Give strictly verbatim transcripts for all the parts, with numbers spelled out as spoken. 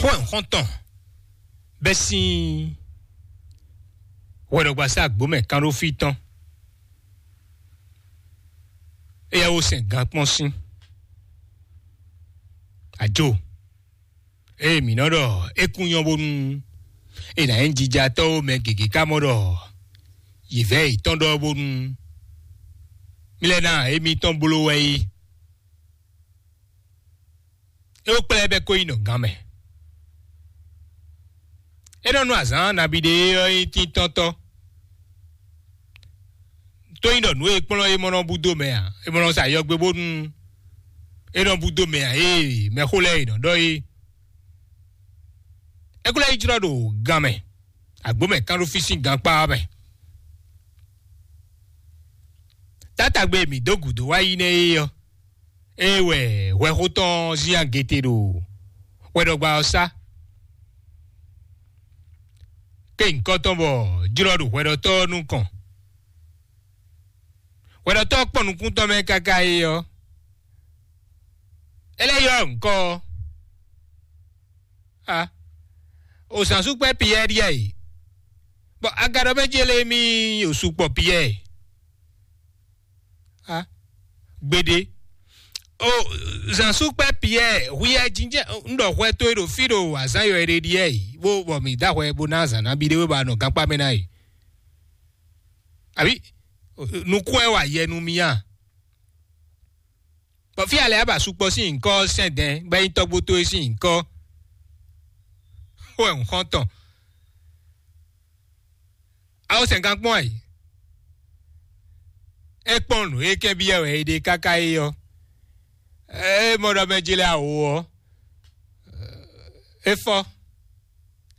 Bó wɛ un xɔ́n tɔn bɛ́ sín hwɛɖɔgbasá agbǒmɛ kánɖófí tɔn. Éyɛ́ wo sɛn gan kpɔ́n sín ajo. Ée mǐ nɔ ɖɔ é kún nyɔ́ bónú è nǎ nyí jijatɔ́ ó, mɛ gěgé ká mɔ ɖɔ yě vɛ́ yětɔn ɖɔ bónú mí lɛ́ ná émítɔn bló wɛ é. É wú kplá ɛ bɛ́ kó yi nɔ gan mɛ. É nɔ nú azǎn nabí ɖé ɔ́ nyí tíntɔ́ntɔ́. Tó nyí ɖɔ nǔ e kplɔ́n é mɔ nɔ búdó mɛ ǎ, é mɔ nɔ sa yɔgbe bónú é nɔ búdó mɛ ǎ, ée mɛxó lɛ́ɛ è nɔ ɖɔ é. É kó lɛ́ yi jlɔ́ ɖo gan mɛ, agbǒ mɛ kán ɖó fí sín gankpá ɔ́ mɛ. Tátagbe e mǐ dó gǔdo wá yi nɛ́ é ɔ́, é wɛ hwɛxó tɔn Ziyangete ɖo hwɛɖɔgba ɔ́ sá. Ké nyǐkɔ tɔn bɔ jlɔ́ ɖo hwɛɖɔtɔ́ ɔ́ nukɔn. Hwɛɖɔtɔ́ ɔ́ kpɔ́n nukún tɔn mɛ káká é ɔ́, é lɛ́ ylɔ́ nyǐkɔ ɔ́. A, o zǎnsúkpɛ́ Piyɛ́ɛ ɖíe a yi, bɔ agadɔ mɛ ce lé mì o sukpɔ Piyɛ́ɛ. A, gbeɖé. O zǎnsúkpɛ́ Piyɛ́ɛ, hwiyɛ jínjɛ́n un ɖɔ hwɛ towe ɖo fí ɖo azǎn yɔ e ɖe ɖíe yi, bó bɔ mǐ dó ahwɛ bó ná azǎn nabí ɖé wé bɔ a nɔ gankpá mɛ ná yi. Abǐ nukún wɛ wa yɛ nú mì a? Bɔ fí alɛ aba sukpɔ sín nyǐkɔ sɛn dɛn bɔ é nyí tɔ́gbó towe sín nyǐkɔ wɛ un xɔ́n tɔn. Awo sɛn gan kpɔ́n ayǐ. É kpɔ́n nǔ e kɛ́n byɔ́ wɛ é ɖe káká é ɔ́, é mɔ ɖɔ mɛ jlɛ́ awo ɔ́, é fɔ,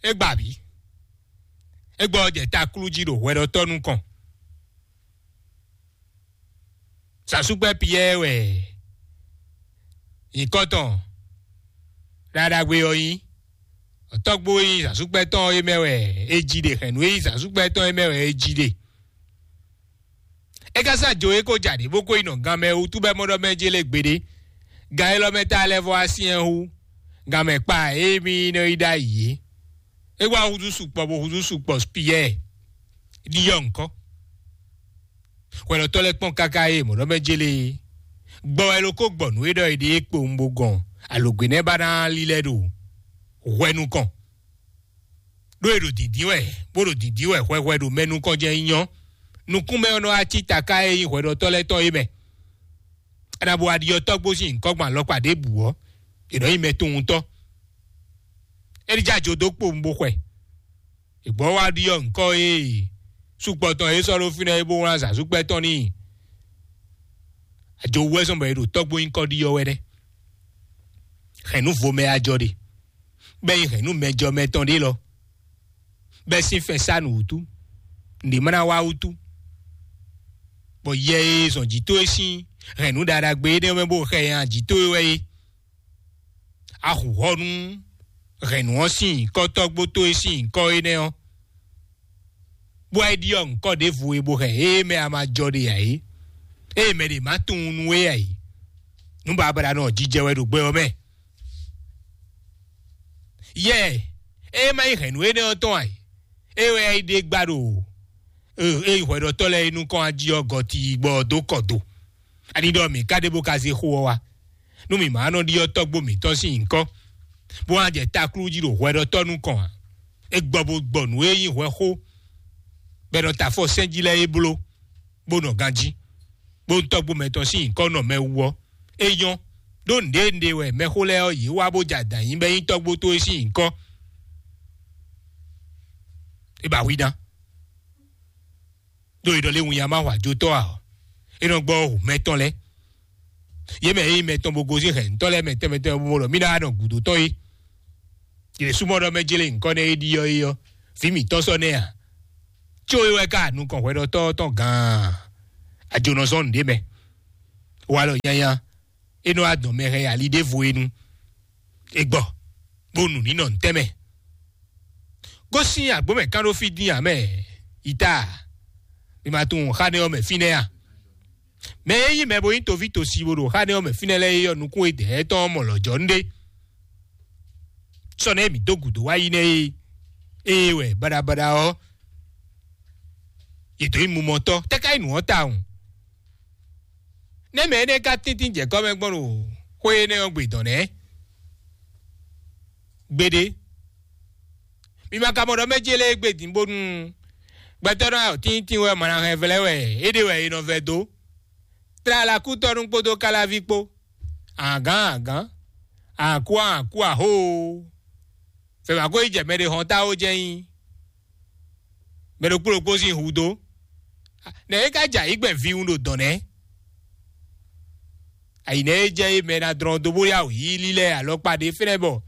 é gba abǐ, é gbɔ jɛ taklú jí ɖo hwɛɖɔtɔ́ nukɔn. Sasúgbɛ́ Piyɛ́ɛ wɛ nyǐkɔ tɔn ɖaɖagbe ɔ́ nyí. Tɔ́gbó e nyí zǎnsúkpɛ́ tɔn é mɛ wɛ é jí ɖe, hɛ̌nnu e nyí zǎnsúkpɛ́ tɔn é mɛ wɛ é jí ɖe. É ka sá jo é kó ja ɖě bó kó yi nɔ gan mɛ wútu bɔ é mɔ ɖɔ mɛ jé lé gbeɖé. Gan élɔ́ mɛ ta lɛ́ vɔ wá syɛ́n hú, gan mɛ kpa e mì nɔ yi ɖ'ayǐ é. É wá húzú sukpɔ bó húzú sukpɔ Piyɛ́ɛ ɖiɖɔ ŋkɔ. Hwɛɖɔtɔ́ lɛ́ɛ kpɔ́n káká e mɔ̌ ɖɔ mɛ jélé é. Gbɔ wɛ ló kó gbɔ nǔ e ɖɔ è ɖe é kpowun bó gɔn alǒgbé nɛ́ ba ná lílɛ́ ɖo hwɛ nukɔn. Ɖó è ɖo dǐndín wɛ, bó ɖo dǐndín wɛ hwɛhwɛ ɖo mɛ nukɔn jɛ́n nyí nyɔ́. Nukúnmɛ ɔ́ nɔ wá cí taká e nyí hwɛɖɔtɔ́ lɛ́ɛ tɔn é mɛ. È nǎ bo wá ɖiɖɔ tɔ́gbó sín nyǐkɔ gbɔn alɔkpa ɖěbǔ ɔ́, è nɔ nyí mɛtunwunntɔ́. É ní jɛ ajo dó kpowun bó xwɛ. È gbɔ wá ɖiɖɔ ŋkɔ e sukpɔ tɔn e sɔ́ ɖó fínɛ́ é bó wlán zǎnsúkpɛ́ tɔn n'i. Ajo wú wɛ zɔn bɔ è ɖo tɔ́gbó nyíkɔ ɖiɖɔ wɛ nɛ́. Hɛ̌nnu vo mɛ ajɔ ɖe, bɔ é nyí hɛ̌nnu mɛjɔ mɛ tɔn ɖé lɔ, bɔ é sín fɛn sá nǔ wútu, nǔɖé ma ná wá wútu. Bɔ yɛ e zɔn jǐ towe sín hɛ̌nnu ɖaɖagbe énɛ́ mɛ bó xɛ nya jǐ towe wɛ é. A hu hɔ nú hɛ̌nnu ɔ́ sín nyǐkɔ tɔ́gbó towe sín nyǐkɔ énɛ́ ɔ́, bó wá yi ɖiɖɔ ŋkɔ ɖěvo e bó hɛn ée mɛ a ma jɔ ɖe ǎ é, ée mɛ ɖě ma tunwun nú we ǎ é. Nǔ babla nɔ jijɛ wɛ ɖo gbɛ ɔ́ mɛ. Yɛ, ée ma nyí hɛ̌nnu énɛ́ ɔ́ tɔn ǎ é, é wɛ yi ɖe gba ɖo e e hwɛɖɔtɔ́ lɛ́ɛ e nukɔn ají ɔ́ gɔti gbɔ dó kɔ do. Ani ɖɔ mǐ ka ɖe bó ka zé xó ɔ́ wá, nú mǐ ma nɔ ɖiɖɔ tɔ́gbó mǐtɔn sín nyǐkɔ, bó wá jɛ taklú jí ɖo hwɛɖɔtɔ́ nukɔn ǎ. É gbɔ bó gbɔ nǔ e nyí hwɛ xó, bɔ è nɔ ta afɔ sɛ́n jí lɛ́ɛ é bló, bó nɔ ganjí, bó tɔ́gbó mɛtɔn sín nyǐkɔ nɔ mɛ wú ɔ́, é nyɔ́. Ɖó nǔɖé nǔɖé wɛ mɛxó lɛ́ɛ ɔ́ yě wá bó jɛ adǎn nyi bɔ é nyí tɔ́gbó towe sín nyǐkɔ. É ba hwi ná. Ɖó è ɖɔ lé winnyá ma hwa jotɔ́ ǎ ɔ́, é nɔ gbɔ hǔ mɛtɔn lɛ́ɛ. Yě mɛ e nyí mɛtɔn bó gosín hɛ̌ntɔ́ lɛ́ɛ mɛ tɛnmɛ tɛnmɛ bó mɔ ɖɔ mí ná nɔ gǔdo tɔn é. Yě súnmọ́ ɖɔ mɛ jlé nyǐkɔ nɛ́ é ɖiɖɔ é ɔ́, vǐ mǐtɔn sɔ́ nɛ́ ǎ. Có é wɛ ka nukɔn hwɛɖɔtɔ́ tɔn gaan. Ajo nɔ zɔ́n nǔɖé mɛ. Walɔ nyanya, é nɔ wá dɔn mɛ hɛn ali ɖěvo é nu. È gbɔ, bó nu nǐ nɔ ntɛ́nmɛ. Gosín agbǒ mɛ kán ɖó fí dín ǎ mɛ, yi ta, mi ma tunwun xá nɛ́ ɔ́ mɛ fínɛ́ a? Mɛ e nyí mɛ bo nyí toví tosi bó ɖo xá nɛ́ ɔ́ mɛ fínɛ́ lɛ́ɛ é ɔ́, nukún e dɛ̌ tɔn ɔ́ mɔ lɔ̌ jɔ nú ɖé. tɔn nɛ́ mǐ dó gǔdo wá yi nɛ́ é. Ée wɛ baɖabaɖa ɔ́, yě dǒ nyi mumɔtɔ́, tɛ́ ká nyí nǔ ɔ́ tawun? Nɛ́ mɛ énɛ́ ka tíntín jɛ kɔ́ mɛ gbɔn ɖo xwé énɛ́ ɔ́ gbe dɔ̌n nɛ́? Gbeɖé. Mi ma ka mɔ ɖɔ mɛ ce lɛ́ɛ gbe din bónú gbɛtɔ́ nɔ ayɔ tíntín wɛ mɔ ná hɛn vlɛ́ wɛ é ɖe wɛ è nɔ vɛ dó. Tlala kútɔ́nú kpódó káláví kpó. Agǎn agǎn, akú akú ahóo. Fɛ́ wǎ ko yi jɛ mɛ ɖé hɔn táwo jɛ́n nyí. Mɛ ɖokpó ɖokpó sín hu dó. Nɛ̌ é ka jɛ ayǐ gbɛn viwun ɖo dɔ̌n nɛ́? Ayǐ nɛ́ é jɛ é mɛ ná dlɔ́n dó bó yá wǔ yí lílɛ́ alɔkpa ɖé fɛ́nɛ bɔ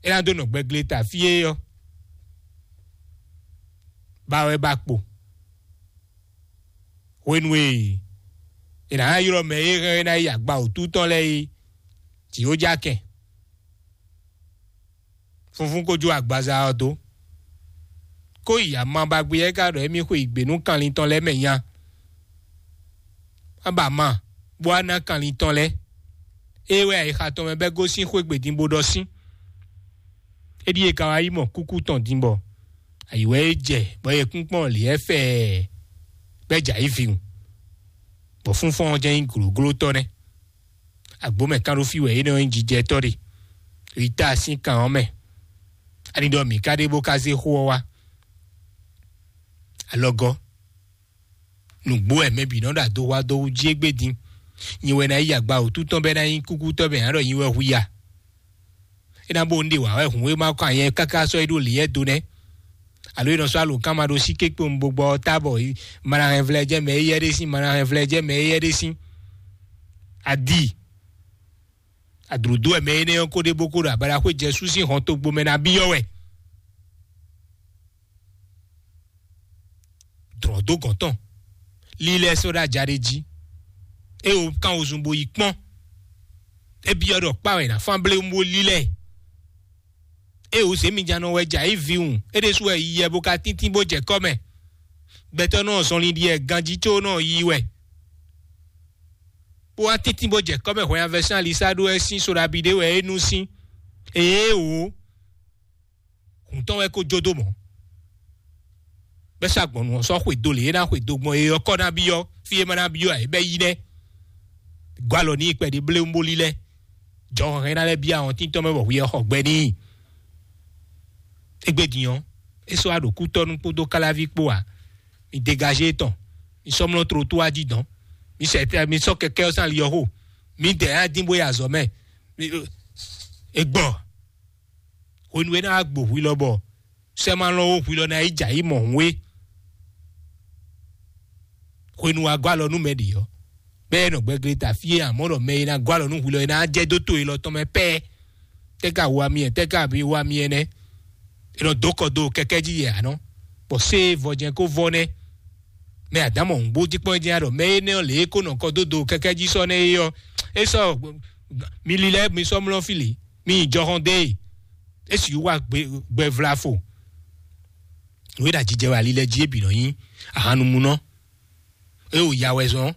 é ná dó nɔ gbɛgle ta fí é ɔ́, ba wɛ ba kpo. Hwenu e è nǎ ylɔ́ mɛ e hɛn é ná yi agba wǔtu tɔn lɛ́ɛ é, jǐ ó já kɛn. Funfun ko jó agbaza ɔ́ dó. Kó yi ama ba gbé ɔ́, é ka ɖɔ émí xwe yi gbě nú kanlin tɔn lɛ́ɛ mɛ nya. Aba ma, bó wá ná kanlin tɔn lɛ́ɛ. Ée wɛ ayixa tɔn mɛ bɛ́ gosín xwé gbe din bó ɖɔ sín. É ɖíe ka wá yi mɔ kúkú tɔn din bɔ ayǐ wɛ é jɛ bɔ yɛkúnkpɔ́n lǐ ɛ́ fɛɛ bɛ́ jɛ ayǐ vǐwun, bɔ fúnfɔ́n ɔ́ jɛ́n nyí glǒglótɔ́ nɛ́. Agbǒ mɛ kán ɖó fí wɛ énɛ́ ɔ́ nyí jijɛtɔ́ ɖe. Yi ta sín kan ɔ́ mɛ. Ani ɖɔ mǐ ka ɖe bó ka zé xó ɔ́ wá? Alɔgɔ́, nǔgbó wɛ mɛ bǐ nɔ ɖo ado wa dó wú jí égbé din. Nyi wɛ ná yi agba wǔtu tɔn bɔ é ná nyí kúkútɔ́ mɛ ǎ ɖɔ nyi wɛ hu ya. É ná bó un ɖe wǎ wɛ hǔn e ma kɔ anyɛ káká sɔ́ é ɖó lǐyɛ́ do nɛ́. Alo é nɔ sɔ́ alǒkan ma ɖó sí kékpé un bo gbɔ ɔ́ ta bɔ ma ná hɛn vlɛ́ jɛ mɛ éyɛ́ ɖé sín, ma ná hɛn vlɛ́ jɛ mɛ éyɛ́ ɖé sín. Adi. Adlǔdó wɛ mɛ énɛ́ ɔ́ kó ɖe bó kó ɖo abaɖaxwé Jɛsu sín hɔn togbo mɛ ná byɔ́ wɛ. Dlɔ̌ dó gɔ̌n tɔn, lílɛ́ sɔ́ ɖó aja ɖé jí. É wo kán wozun bó yi kpɔ́n. É byɔ́ ɖɔ kpá wɛ è nǎ fán blé bó lílɛ́. É wo zě mi jánɔ wɛ jɛ ayǐ vǐwun, é ɖésú wɛ yi yɛ bó ka tíntín bó jɛ kɔ́ mɛ. Gbɛtɔ́ nɔ zɔnlin ɖi wɛ ganjí có nɔ yi wɛ. Bó wá tíntín bó jɛ kɔ́ mɛ hwɛnyanvɛsán alisá ɖó wɛ sín soɖabi ɖé wɛ é nú sín. Ée wǒ. Hǔn tɔn wɛ ko jó dó mɔ̌. Bɛ́ sá gbɔn nǔ ɔ́ sɔ́ xwedó lě e ná xwedó gbɔn é ɔ́ kɔ́ ná byɔ́, fí e ma ná byɔ́ ǎ é bɛ́ yí nɛ́. Gɔ́ alɔ n'i kpɛɖé bléwúnbólí lɛ́ɛ. Jɔhɔn hɛn ná lɛ́ byɔ́ ahɔntín tɔn mɛ bɔ hwi ɔ́ xɔ gbɛ n'i. Égbé din ɔ́, é sɔ́ wá ɖo kútɔ́nú kpódó káláví kpó ǎ. Mi degazé tɔn, mi sɔ́ mlɔ́ tlotó wá jí dɔn. Mi sɛ mi sɔ́ kɛkɛ́ ɔ́ sín ali ɔ́ xo. Mi dɛ ná dín bó yi azɔ̌ mɛ. Mi- E gbɔ. Hwenu e ná wá gbo hwi lɔ bɔ sɛ́ ma lɔn ó hwi lɔ ná yi jɛ ayǐ mɔ hǔn é. Hwenu wá gɔ́ alɔ nú mɛ ɖě ɔ́, bɛ́ ɛ nɔ gbɛgle ta fí é, amɔ̌ ɖɔ mɛ e ná gɔ́ alɔ nú hwi lɔ é ná jɛ dó to élɔ́ tɔn mɛ pɛ́ɛ. Tɛ́ ka wa mi ɛ, tɛ́ ka bi wa mi ɛ nɛ́? È nɔ dó kɔ dó kɛkɛ́ jí yɛ ǎ nɔ, bɔ sé vɔjɛn kó vɔ nɛ́. Mɛ adǎmɔ hǔngbó jí kpɔ́n jɛ́n ɖɔ mɛ énɛ́ ɔ́ lě e kó nɔ kɔ dó do kɛkɛ́ jí sɔ́ nɛ́ é ɔ́, é sɔ́ mi lílɛ́ mi sɔ́ mlɔ́ fí lě, mi nyi jɔhɔn dó e, é sixú wá gbɛ vlafo. Nǔ e ɖo ajijɛ wɛ ali lɛ́ɛ jí é bǐ nɔ nyí ahannumunɔ. É wo ya wɛ zɔn,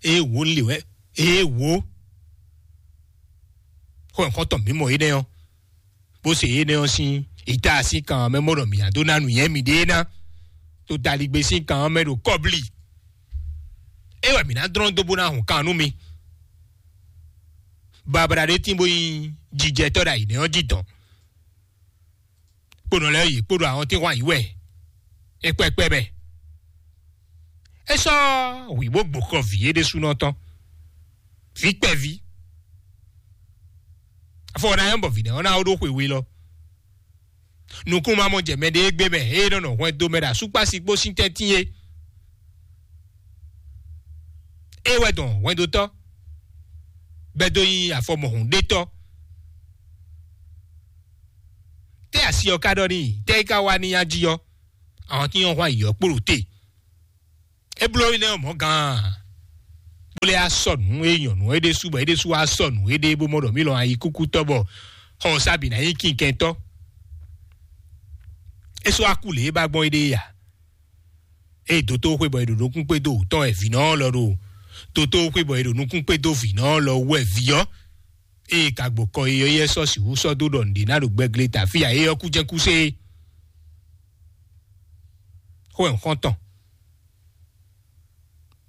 é wo lě wɛ, é wo xɔ nǔkɔntɔn mǐmɔ énɛ́ ɔ́, bó se énɛ́ ɔ́ sín ìta sín kan mɛ mɔ ɖɔ mǐ ná dó ná nǔnywɛ́ miɖée ná, to daligbé sín kan mɛ ɖo kɔ́blí. É wɛ mǐ ná dlɔ́n dó bó ná hun kan nú mi. Babla ɖé tín bó nyí jijɛtɔ́ ɖo ayǐ nɛ́ ɔ́ jí dɔn. Kponɔ lɛ́ɛ yě kpo ɖo ahɔntínhwan yǐ wɛ é kpɛkpɛ mɛ. É sɔ́ hwǐ bó gbo xɔ vǐ é ɖésúnɔ tɔn. Vǐ kpɛví. Afɔ ɔ́ ná nyɔ́ bɔ vǐ nɛ́ ɔ́ ná wó ɖó xwe we lɔ. Nukúnnú ma mɔ jɛ mɛ ɖé gbé mɛ, ée nɔ nɔ hwɛndo mɛ ɖo asúkpási kpó sín tɛ́ntin é. É wɛ dɔn hwɛndotɔ́, bɛ́ dó nyí afɔmɔhun ɖétɔ́. Tɛ́ asi ɔ́ ka ɖɔ n'i, tɛ́ é ka wá n'i jí ɔ́, ahɔntín ɔ́ hwan yǐ ɔ́ kpo ɖo te. É bló énɛ́ ɔ́ mɔ̌ gaan, bó lɛ́ á sɔ nǔ e nyɔ̌nu ɔ́ é ɖésú bɔ é ɖésú wá sɔ nǔ éɖée bó mɔ ɖɔ mǐ lɔn ayikúkútɔ́ bɔ xɔ ɔ́ sá bǐ ná nyí kinkɛntɔ́. É sɔ́ wá kú lě e ba gbɔn éɖée ya. Ée dotóxwé bɔ è ɖo nukún kpé dó wǔ tɔn wɛ vǐnɔ ɔ́ lɔ ɖo dotóxwé bɔ è ɖo nukún kpé dó vǐnɔ ɔ́ lɔ wú wɛ vǐ ɔ́. Ée ka gbo kɔ yi ɔ́, yɛ sɔ́ sixú sɔ́ dó ɖɔ nǔɖé ná ɖo gbɛgle ta fí a? É ɔ́ kú jɛ́n kú sé. Xó ɛ xɔ́ntɔn.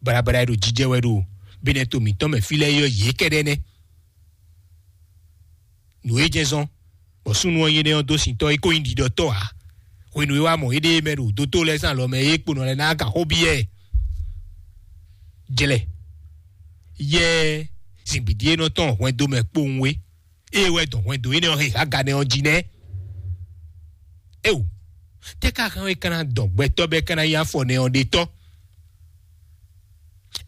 Barabara e ɖo jijɛ wɛ ɖo binɛ to mǐtɔn mɛ fí lɛ́ɛ ɔ́, yě kɛ́ɖɛ́ nɛ́. Nǔ e jɛ́n zɔ́n bɔ súnnu ɔ́ nyí énɛ́ ɔ́ dó sintɔ́ é kó nyí ɖiɖɔtɔ́ ǎ. Hwenu e wá mɔ éɖée mɛ ɖo dótó lɛ́ɛ sín alɔ mɛ é kponɔ lɛ́ɛ ná ka xó byɔ́ ɛ. Jlɛ yɛ zǐngbídí e nɔ tɔn hwɛndo mɛ kpowun é. Ée wɛ dɔn hwɛndo énɛ́ ɔ́ he haganɛ ɔ́ jí nɛ́. Éo, tɛ́ ka hɛn é ka ná dɔn gbɛtɔ́ bɔ é ka ná nyí afɔ nɛ ɔ́ ɖe tɔ́?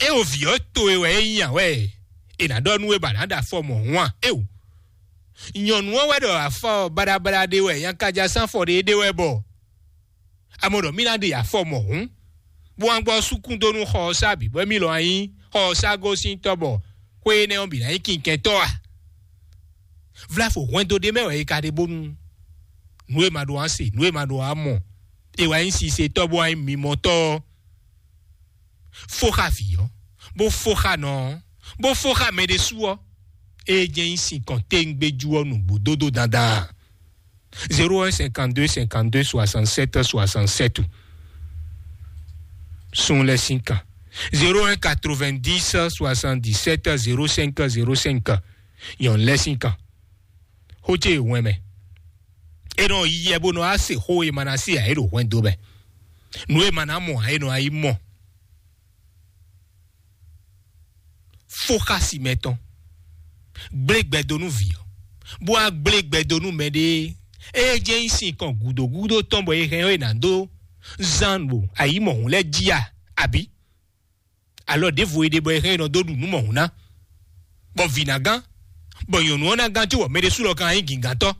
Éo, vǐ ɔ́ towe wɛ é nyí a wɛ? È nǎ ɖɔ nú we bɔ a nǎ ɖo afɔ mɔ̌hun a? Éo, nyɔ̌nu ɔ́ wɛ ɖɔ afɔ baɖabaɖa ɖé wɛ, nyakájá sín afɔ ɖé ɖé wɛ bɔ a mɔ ɖɔ mì ná ɖe afɔ mɔ̌hun, bó wá gbɔ súkún dó nú xɔ ɔ́ sá bǐ, bɔ émí lɔ wá nyí xɔ ɔ́ sá gosín tɔ́ bɔ xwé énɛ́ ɔ́ bǐ ná nyí kinkɛntɔ́ a? Vlafo hwɛndo ɖé mɛ wɛ è ka ɖe bónú nǔ e ma ɖo wá se, nǔ e ma ɖo wá mɔ, è wá nyí sisetɔ́ bó wá nyí mimɔtɔ́ ɔ́, fó xá vǐ ɔ́, bó fó xá nɔ ɔ́, bó fó xá mɛ ɖésú ɔ́, é jɛ́n nyí sinkɔn téŋgbéjú ɔ́ nǔgbó dódó dandan. Zéro un cinquante-deux cinquante-deux soixante-sept soixante-sept. Sun lɛ́ sín kan. Zéro un quatre-vingt-dix soixante-dix-sept zéro cinq zéro cinq. Nyɔ̌nu lɛ́ sín kan. Xó ce wɛn mɛ. É nɔ yi yɛ bó nɔ á se xó e ma ná se ǎ é ɖo hwɛndo mɛ. Nǔ e ma ná mɔ ǎ é nɔ á yi mɔ. Fó xá si mɛtɔn. Gblé gbɛ dó nú vǐ ɔ́, bó wá gblé gbɛ dó nú mɛɖée. Ée jɛ́n nyí sin kɔn gǔdo gúdo tɔn bɔ è hɛn ɔ́ è nǎ dó zán ɖo ayǐ mɔ̌hun lɛ́ɛ jí a? Abǐ alɔ ɖěvo e ɖe bɔ è hɛn è nɔ dó ɖu nǔ mɔ̌hun ná, bɔ vǐ ná gán, bɔ nyɔ̌nu ɔ́ ná gán cóbɔ mɛ ɖésú lɔ kan nyí gǐngántɔ́.